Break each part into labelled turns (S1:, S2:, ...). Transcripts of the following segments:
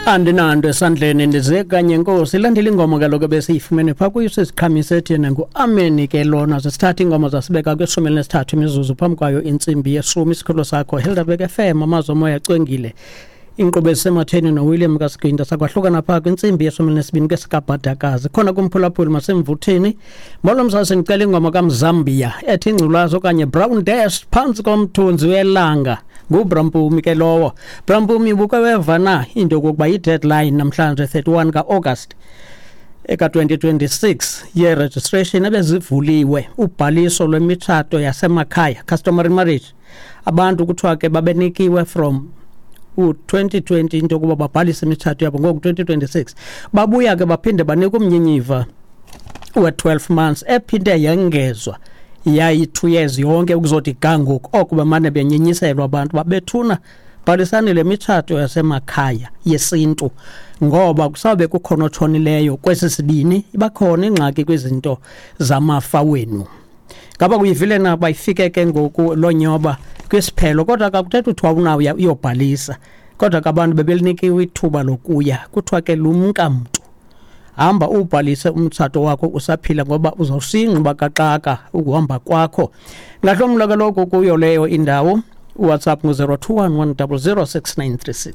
S1: Andinanto esandleni, ndize kanye nkosi. Ilandela ingoma kaloku ebesiyifumene phaa kuyo siziqhamise ethi yena ngu-ameni ke lona. Zesithatha iingoma zasibeka kwishumi elinesithathu imizuzu phambi kwayo intsimbi yeshumi. Isikhululo sakho Helderberg FM, amazwi omoya acwengile, inkqubo ezisematheni noWilliam kaSiginta. Sakwahlukana phaa kwintsimbi yeshumi elinesibini kwesikabhadakazi khona kumphulaphuli masemvuthini. Molo msasi, ndicela ingoma kaMzambia ethi ingculazi okanye Brown Dash phantsi komthunzi welanga. NguBrampumi ke lowo. Brampumi, ubuke weva na into yokokuba i-deadline namhlanje 31 ka-August eka-2026 ye-registration ebezivuliwe, ubhaliso lwemitshato yasemakhaya, customary marriage? Abantu kuthiwa ke babenikiwe from u-2020 into yokuba babhalise imitshato yabo. Ngoku 2026 babuya ke baphinde banika umnyinyiva we-12 months, ephinde yengezwa yayi-2 years yonke ukuzothi ga ngoku. Oko bemane benyenyiselwa abantu babethuna, bhalisani le mitshato yasemakhaya yesintu, ngoba kusawube kukhona otshonileyo kwesi sibini, ibakhona ingxaki kwizinto zamafa wenu. Ngaba kuyivile na? Bayifike ke ngoku loo nyoba kwisiphelo, kodwa kakuthetha uthiwa unawuya uyobhalisa, kodwa ke abantu bebelinikiwe ithuba lokuya. Kuthiwa ke lumka mntu, hamba ubhalise umtshato wakho usaphila, ngoba uzawusingquba kaxaka ukuhamba kwakho. Ngahlomla kaloku kuyo leyo indawo. WhatsApp ngu-021 100 6936.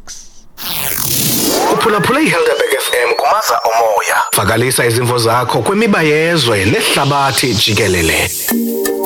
S2: Uphulaphule iHelderberg FM kumaza omoya. Vakalisa izimvo zakho kwimiba yezwe nehlabathi jikelele.